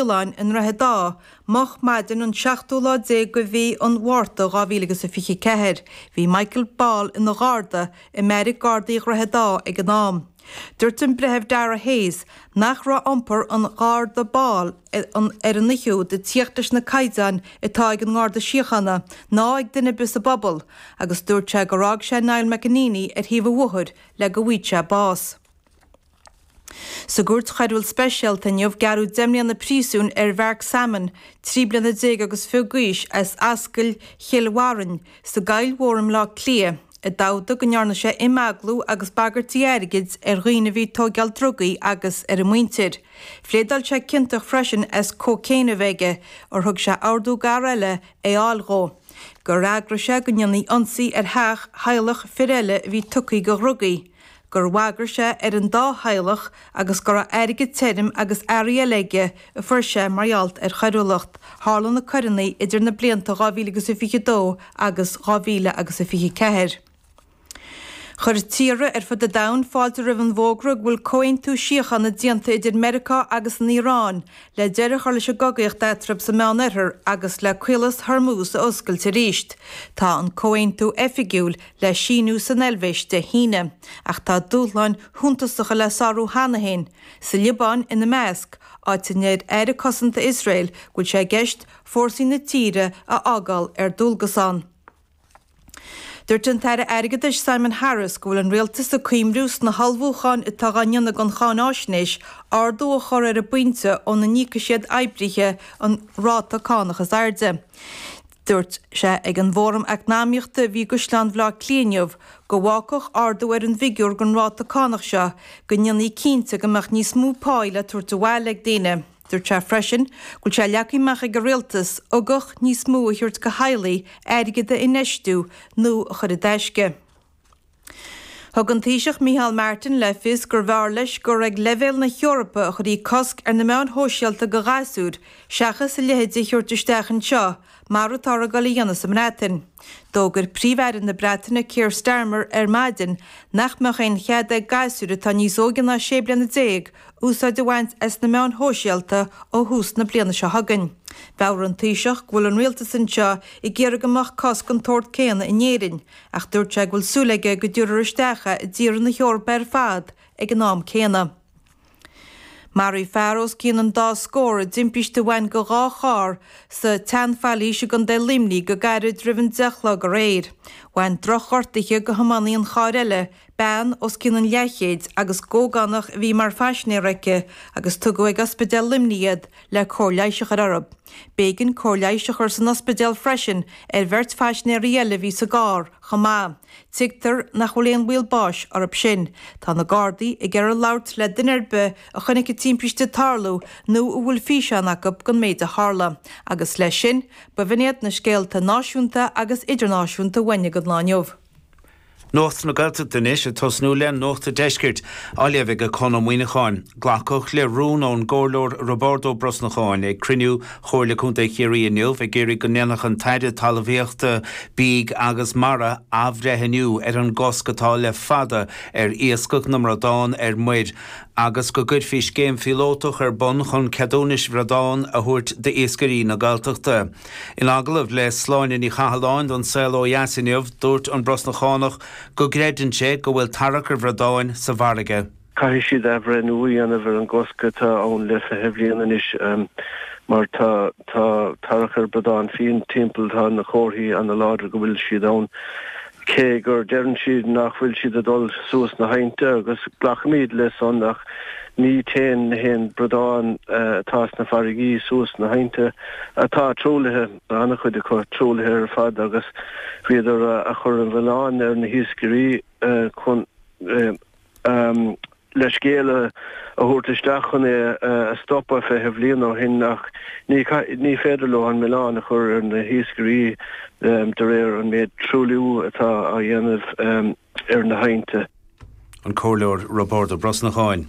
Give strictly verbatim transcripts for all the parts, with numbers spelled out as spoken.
Faoláin i nDroichead Átha moch maidin an seachtú lá déag de mhí an Mhárta dhá mhíle agus a fiche ceathair. Bhí Michael Ball ina gharda i mbeairic Gardaí Dhroichead Átha ag an am. Dúirt an Breitheamh Dara Hayes nach raibh iompar an Gharda Ball ar an oíche úd ag tíocht leis na caighdeáin atá ag an nGarda Síochána ná ag duine ar bith sa bpobal agus dúirt sé gur fhág sé Niall McEnaney ar thaobh an bhóthair le go bhfaigheadh sé bás. Sa gCúirt Choiriúil Speisialta inniu, gearradh deich mbliana príosúin ar Mhark Salmon, trí bliana déag agus fiche d'aois, as Ascaill Chill Bharrainn sa gCoill Mhór i mBleá Cliath, i dtabhta go ndearna sé imeaglú agus bagairtí airgid ar dhaoine a bhí ag tóigeáil drugaí agus ar a muintir. Phléadáil sé ciontach freisin as cócaon a bheith aige, ar thug sé ordú d'fhear eile é a fháil dhó, gur fhreagraigh sé go ndéanfaí ionsaí ar theach theaghlach fir eile a bhí tugtha do dhrugaí, gur bhagair sé ar an dá theaghlach agus go raibh airgead tirim agus earraí eile aige a fuair sé mar gheall ar choiriúlacht. Tharla na coireanna idir na blianta dhá mhíle agus a fiche dó agus dhá mhíle agus a fiche ceathair. Chuir tíortha ar fud an domhain fáilte roimh an bhfógra go bhfuil comhaontú síochána déanta idir Meiriceá agus an Iaráin le deireadh a chur leis an gcogaíocht eatarthu sa Meánoirthear agus le Caolas Hormuz a oscailt arís. Tá an comhaontú oifigiúil le síniú san Eilvéis Dé hAoine, ach tá dúshláin shuntasacha le sárú cheana féin, sa Liobáin ina measc, áit a ndeir Aire Cosanta Iosrael go bhfuil sé i gceist fórsaí na tíre a fhágáil ar dualgas ann. Dúirt an tAire Airgeadais Simon Harris go bhfuil an Rialtas ag cuimriú sna hullmhúcháin atá á ndéanamh don cháináisnéis ardú a chur ar an bpointe óna n-íocfaidh siad oibrithe an ráta cánach is airde. Dúirt sé ag an bhFóram Eacnamaíochta a bhí i gCaisleán Bhaile Átha Cliath inniu go bhfágfadh ardú ar an bhfigiúr don ráta cánach seo go ndéanfaí cinnte go mbeadh níos mó páí le tabhairt abhaile ag daoine. Dúirt sé freisin go bhfuil sé leagtha amach ag an rialtas ugach níos mó a thabhairt do theaghlaigh airgead a infheistiú nó a chur i dtaisce. Thug an Taoiseach Micheál Martin le fios gurbh fhearr leis gur ag leibhéal na hEorpa a chuirfí cosc ar na meáin shóisialta do ghasúir seachas a leithéid a thabhairt isteach anseo mar atáthar ag dul a dhéanamh sa mBreatain. D'fhógair Príomh-Aire na Breataine Keir Starmer ar maidin nach mbeadh aon chead ag gasúir atá níos óige ná sé bliana déag úsáid a bhaint as na meáin shóisialta ó thús na bliana seo chugainn. Mheabhraigh an Taoiseach go bhfuil an rialtas anseo ag iarraidh go mbeadh cosc den tsórt céanna in Éirinn, ach dúirt sé go bhfuil súil aige go dtabharfar isteach é i dtíortha na hEorpa ar fad ag an am céanna. Maraíodh fear os cionn an dá scór i dtimpiste a bhain go dhá charr sa tSeanphailís i gContae Luimnigh go gairid roimh an deich a chlog aréir. Bhain drochghortuithe go thiománaí an chairr eile, bean os cionn an leathchéid agus ógánach a bhí mar phaisinéir aici agus tugadh ag Ospidéal Luimnigh iad le cóir leighis a chur orthu. B'éigean cóir leighis a chur san ospidéal freisin ar bheirt phaisinéirí eile a bhí sa gcarr chomh maith. Tuigtear nach bhfuil aon bhaol báis orthu sin. Tá na Gardaí ag iarraidh labhairt le duine ar bith a chonaic an timpiste ag tarlú nó a bhfuil físeán acu den méid a tharla. Agus leis sin, b'in iad na scéalta náisiúnta agus idirnáisiúnta uainne don lá inniu. Nuacht na Gaeltachta anois, ag tosnú le Nuacht an Deiscirt, á léamh ag Conn Ó Muíneacháin. Glacadh le rún ón gComhairleoir Roibeárd Ó Brosnacháin ag cruinniú Chomhairle Contae Chiarraí inniu ag iarraidh go ndéanfadh an tAire Talmhaíochta, Bídh agus Mara athbhreithniú ar an gcosc atá le fada ar iascach na mbradán ar muir agus go gcuirfí scéim phíolótach ar bun chun ceadúnais bhradán a thabhairt d'iascairí na Gaeltachta. In agallamh le Sláine Ní Chathalláin don Saol Ó Dheas inniu, dúirt an Brosnachánach go gcreideann sé go bhfuil tarracadh bhradáin sa bhfarraige. Caithfidh siad athbhreithniú a dhéanamh ar an gcosc atá ann le fiche bhliain anois mar tá tá tarracadh bradán fiáin timpeall, tá na comharthaí ana láidir go bhfuil siad ann cé gur deireann siad nach bhfuil siad ag dul suas na haibhnte agus glacaimid le san ach ní téann na haon bradán atá sna farraigí suas na haibhnte atá truaillithe, an-chuid acu truaillithe ar fad agus bhíodar a chur an mhilleáin ar na hiascairí chun le scéal a thabhairt isteach chun é a stopadh fiche bhliain ó shin ach ní ní féidir leo an milleán a chur ar na hiascairí de réir an méid truailliú atá á dhéanamh ar na haibhnte. An Comhairleoir Roibeárd Ó Brosnacháin.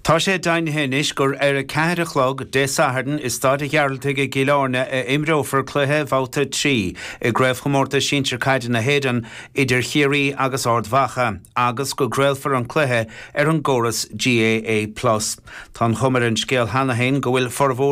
Tá sé deimhnithe anois gur ar a ceathair a chlog Dé Sathairn i Staid an Ghearaltaigh i gCill Airne a imreofar cluiche Bhabhta trí i gCraobhchomórtas Sinsir Caide na hÉireann idir Chiarraí agus Ard Mhacha agus go gcraolfar an cluiche ar an gcóras GAA Plus. Tá an chuma ar an scéal cheana féin go bhfuil formhór